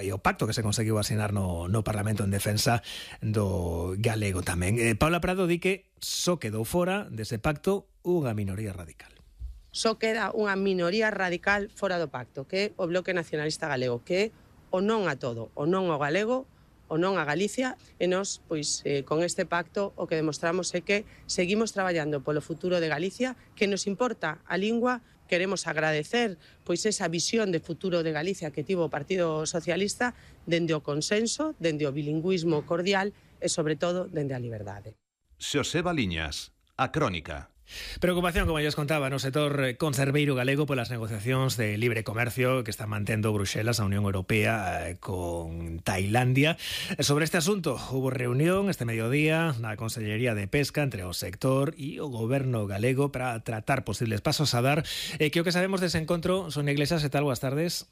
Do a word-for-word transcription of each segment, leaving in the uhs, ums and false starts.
e o pacto que se conseguiu asinar no, no Parlamento en defensa do galego tamén. Eh, Paula Prado di que só quedou fora dese pacto unha minoría radical. Só queda unha minoría radical fora do pacto, que é o Bloque Nacionalista Galego, que é o non a todo, o non ao galego, o non a Galicia, e nós, pois, eh, con este pacto o que demostramos é que seguimos traballando polo futuro de Galicia, que nos importa a lingua. Queremos agradecer pois esa visión de futuro de Galicia que tivo o Partido Socialista dende o consenso, dende o bilingüismo cordial e, sobre todo, dende a liberdade. Xoseba Liñas, A Crónica. Preocupación, como lles contaba, no sector conserveiro galego polas negociacións de libre comercio que está mantendo Bruxelas, a Unión Europea, eh, con Tailandia. Sobre este asunto, hubo reunión este mediodía na Consellería de Pesca entre o sector e o goberno galego para tratar posibles pasos a dar. Eh, que o que sabemos dese encontro, Sonia Iglesias, e tal, boas tardes.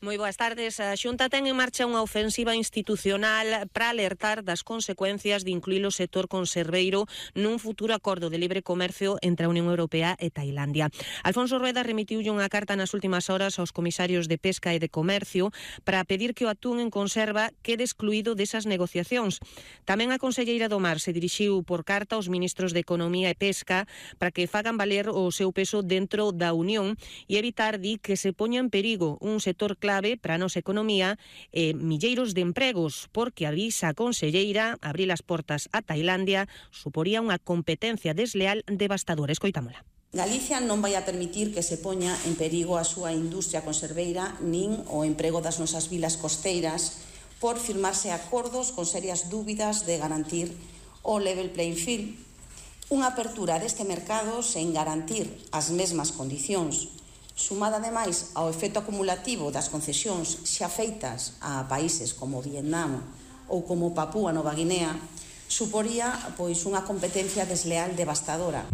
Moi boas tardes. A Xunta ten en marcha unha ofensiva institucional para alertar das consecuencias de incluir o sector conserveiro nun futuro acordo de libre comercio entre a Unión Europea e Tailandia. Alfonso Rueda remitiulle unha carta nas últimas horas aos comisarios de Pesca e de Comercio para pedir que o atún en conserva quede excluído desas negociacións. Tamén a conselleira do Mar se dirixiu por carta aos ministros de Economía e Pesca para que fagan valer o seu peso dentro da Unión e evitar, di, que se poña en perigo un sector clave para a nosa economía e milleiros de empregos, porque avisa a conselleira abrir as portas a Tailandia suporía unha competencia desleal devastadora. Escoitámola. Galicia non vai a permitir que se poña en perigo a súa industria conserveira nin o emprego das nosas vilas costeiras por firmarse acordos con serias dúbidas de garantir o level playing field. Unha apertura deste mercado sen garantir as mesmas condicións, sumada ademais ao efecto acumulativo das concesións xa feitas a países como Vietnam ou como Papúa Nova Guinea, suporía pois unha competencia desleal devastadora.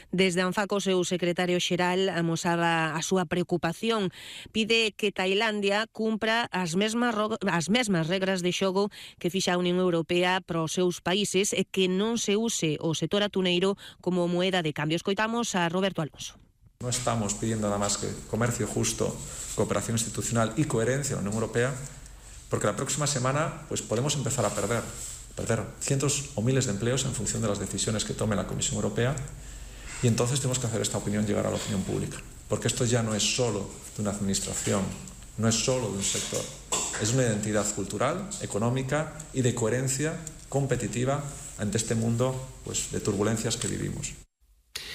Desde Anfaco, o seu secretario xeral amosaba a súa preocupación. Pide que Tailandia cumpra as mesmas, as mesmas regras de xogo que fixa a Unión Europea para os seus países e que non se use o sector atuneiro como moeda de cambio. Escoitamos a Roberto Alonso. No estamos pidiendo nada más que comercio justo, cooperación institucional y coherencia en la Unión Europea, porque la próxima semana pues, podemos empezar a perder, perder cientos o miles de empleos en función de las decisiones que tome la Comisión Europea, y entonces tenemos que hacer esta opinión llegar a la opinión pública, porque esto ya no es solo de una administración, no es solo de un sector, es una identidad cultural, económica y de coherencia competitiva ante este mundo pues, de turbulencias que vivimos.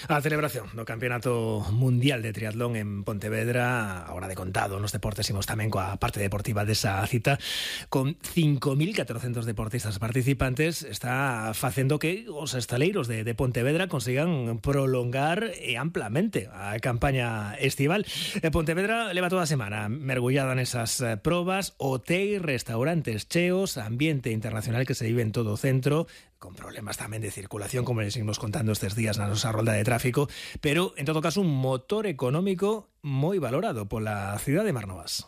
A celebración do Campeonato Mundial de Triatlón en Pontevedra, agora de contado nos deportes, imos tamén coa parte deportiva desa cita, con cinco mil catrocentos deportistas participantes, está facendo que os estaleiros de, de Pontevedra consigan prolongar e amplamente a campaña estival. Pontevedra leva toda a semana mergullada nesas probas, hotéis, restaurantes cheos, ambiente internacional que se vive en todo o centro, con problemas tamén de circulación, como les seguimos contando estes días na nosa rolda de tráfico, pero, en todo caso, un motor económico moi valorado pola cidade de Marnovas.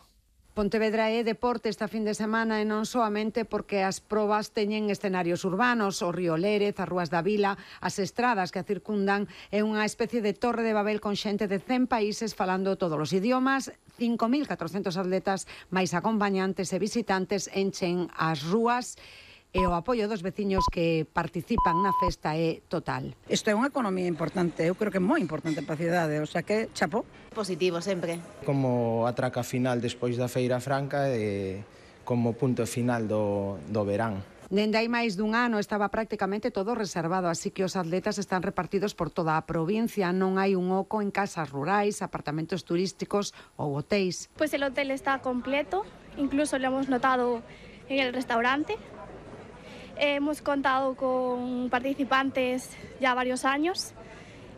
Pontevedra é deporte esta fin de semana e non soamente porque as probas teñen escenarios urbanos, o río Lérez, as rúas da vila, as estradas que a circundan, é unha especie de torre de Babel con xente de cen países falando todos os idiomas. cinco mil catrocentos atletas máis acompañantes e visitantes enchen as rúas e o apoio dos veciños que participan na festa é total. Isto é unha economía importante, eu creo que é moi importante para a cidade, o sea que chapó. Positivo sempre. Como a traca final despois da Feira Franca e como punto final do, do verán. Dende hai máis dun ano estaba prácticamente todo reservado, así que os atletas están repartidos por toda a provincia, non hai un oco en casas rurais, apartamentos turísticos ou hotéis. Pues el hotel está completo, incluso lo hemos notado en el restaurante. Hemos contado con participantes ya varios años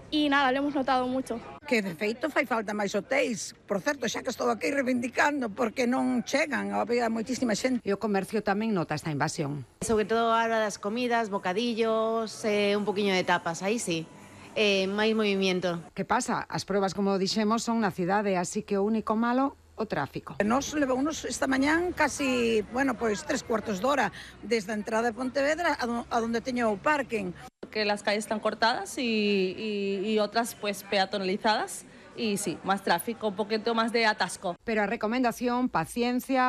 y nada, lo hemos notado mucho. Que de feito fai falta máis hotéis. Por certo, xa que estou aquí reivindicando porque non chegan, había moitísima xente. E o comercio tamén nota esta invasión. Sobre todo a hora das comidas, bocadillos, eh, un poquinho de tapas, aí sí. Eh, máis movimiento. Que pasa? As probas, como dixemos, son na cidade, así que o único malo o tráfico. Nos levounos esta mañán casi, bueno, pois tres cuartos de hora desde a entrada de Pontevedra a, do, a donde teño o parking. Que las calles están cortadas y, y, y otras pues peatonalizadas y sí, más tráfico, un poquito más de atasco. Pero a recomendación, paciencia,